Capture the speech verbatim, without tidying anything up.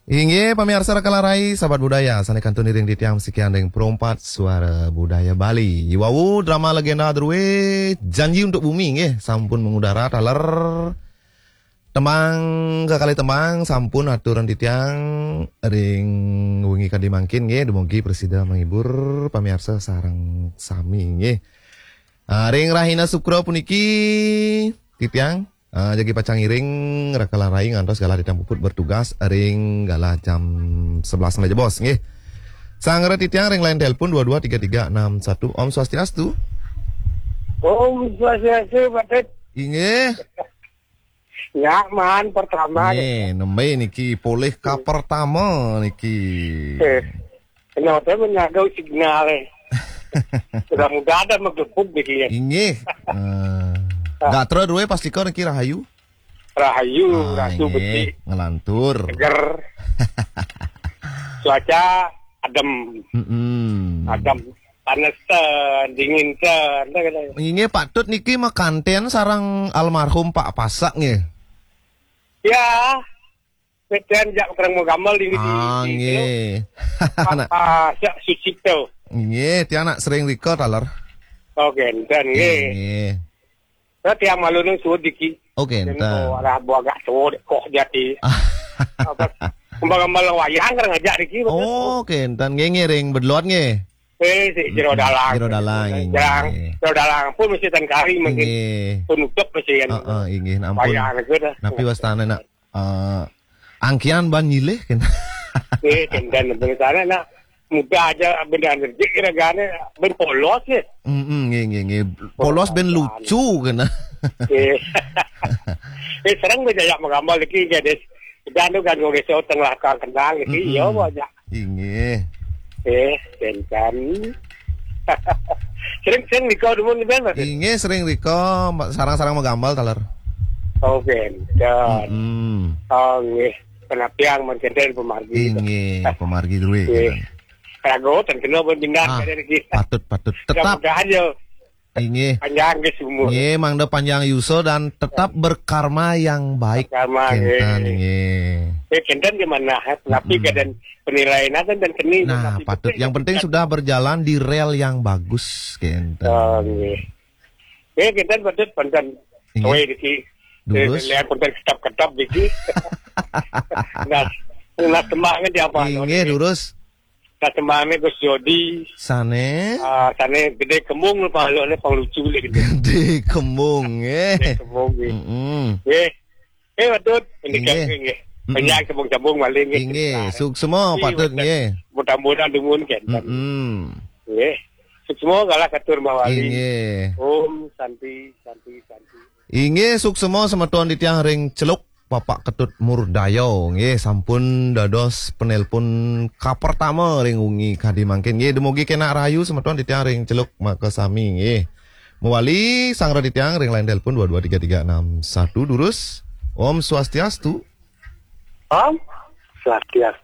Inggih, pamiarsa Rakala Rai, sahabat budaya, sané kantun iring titiang masikian ring Pro empat Suara Budaya Bali. Iwau drama legenda drué Janji untuk Bumi, nggih, sampun mangudara taler. Tembang kekalih tembang sampun aturan titiang ring wengi kadi mangkin, nggih, dumugi prasida menghibur pamiarsa sareng sami, nggih. Ah, ring rahina Sukra puniki titiang, ah, jagi pacang ngiring Rakala Rai ngantos galah titiang puput bertugas ring galah jam sebelas malih jebos, nggih. Sanggra titiang ring line telepon dua dua tiga tiga enam satu. Om Swastiastu. Om Swastiastu, Pak Tet. Inggih. Ya, maan pertama. Nggih, nembe niki polih ka pertama niki. Eh, kenapa menyaga signal, eh? Mudah-mudahan ada megepuk niki, ya. Inggih. Eh, gatra drué pastika niki rahayu. Rahayu, ah, rahayu inggih, becik. Ngelantur. Seger. Cuaca adem. Mm-mm. Adem. Panas ten, dingin ten. Inggih, Pak Tut niki makanten sareng almarhum Pak Pasak, nggih. Ya. Peten jak terang gambar di, di, ah, di, nggih. Pak Pasak Sucipto. Nggih, tiang nak sering rika taler. Oh, kenten, nggih. Nggih. Nah, tiang malu nang suud diki. Oh, kenten. Kok arah buah agak suud, kok jati. Apa? Kembang-kembang wayang kan ngajak diki, betul? Oh, kenten. Nggih, ngiring bedelot, nggih. Eh, si Jero Dalang. Jero Dalang, nggih. Jero Dalang pun mesti tan kari mungkin. Nggih. Penutup mesti kan. Heeh, inggih, ampun. Wayang itu dah. Napi wastane, nak? Eh, angkian ban nyilih, kan? Eh, kenten, bener sana, nak. Muda aja bener energi kira-kira ben polos, ya. Mm-mm, nggih, nggih, nggih. Polos ben lucu, kan? Eh. Eh, sering beda ya menggambar lagi, jadi. Dan tu kan, kalau tengah kenal lagi, mm-mm, ya, banyak. Inggih. Eh, kenten. Sering-sering rika dumun, Ben, Mas? Inggih, sering rika, sarang-sarang magambal taler. Oh, kenten. Mm-mm. Oh, nggih. Penapiang, men kenten pamargi. Inggih, pamargi drué, nggih, kenten. Rago, ten kena pun pindah, ah, kenten lagi. Patut, patut. Tetap. Mudah-mudahan ya. Inggih. Panjang ke sumur. Nggih, mangda panjang yusa dan tetap berkarma yang baik. Karma, kenten, nggih. Nggih. Eh, kenten di mana, eh? Tapi mm-mm, kenten penilaian dan, dan keni. Nah, tapi patut. Yang penting sudah berjalan di rel yang bagus, kenten. Oh, nggih. Eh, kenten patut, kenten. Nggih. Oe, diki. Durus. Eh, lihat kenten ketap-ketap diki. Nah, nah, semangat di apa? Inggih, durus. Nah, tembangé Gus Jodi. Sané? Ah, sané Gedé Kembung lho, Pak, lho, panglucu lho, Gedé. Gedé Kembung, eh. Gedé Kembung, nggih. Mm-mm. Nggih. Eh, Pak Tut, ini inggih, kan, nggih. Mm-mm. Banyak sambung-sambung malih, nggih. Inggih, suksma, Pak Tut, nggih. Mudah-mudahan dumun, kan. Mm-mm. Nggih. Suksma kalah katur mawali. Inggih. Om Santi, Santi, Santi. Inggih, suksma semeton titiang ring Celuk. Bapak Ketut Murdaya, nggih, sampun dados penelpon kapertama ring wengi kadi mangkin. Nggih, dumugi kenak rahayu semeton titiang ring Celuk makasami, nggih. Mawali sanggra titiang ring line telepon dua dua tiga tiga enam satu, durus. Om Swastiastu. Om Swastiastu.